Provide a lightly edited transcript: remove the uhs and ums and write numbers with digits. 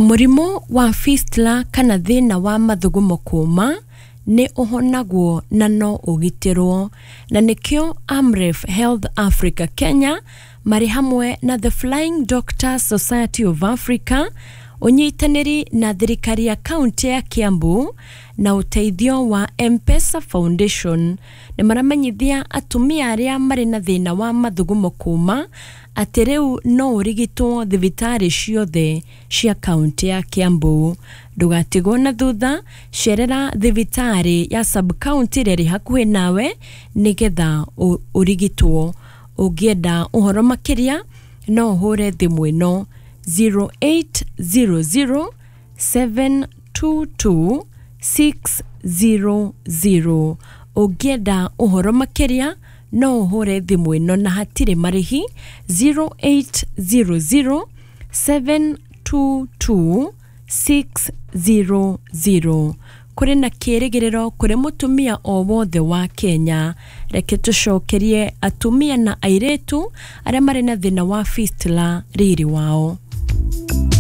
Mũrimũ wa fistula kana thĩna wa mathugumo kũma nĩ ũhonagwo na no ũgitĩrwo, na nĩkĩo Amref Health Africa Kenya marĩ hamwe na The Flying Doctors Society of Africa, ũnyitanĩri na thirikari ya kaunti ya Kiambu na ũteithio wa M-Pesa Foundation, nĩ maramenyithia atumia arĩa marĩ na thĩna wa mathugumo kũma atĩ rĩu no ũrigitwo thibitarĩ ciothe cia kaunti ya Kiambu. Ndũgatigwo na thutha, cerera thibitarĩ ya sub county ĩrĩa ĩrĩ hakuhĩ nawe nĩgetha ũrigitwo. Ũngĩenda ũhoro makĩria no ũhũre thimũ ĩno 0800 722 600. Ũngĩenda ũhoro makĩria no ũhũre thimũ ĩno na hatirĩ marĩhi 0800 722 600. Kũrĩ na kĩrĩgĩrĩro kũrĩ mũtumia o wothe wa Kenya. Reke tũcokerie atumia na airĩtu arĩa marĩ na thĩna wa fistula riri wao.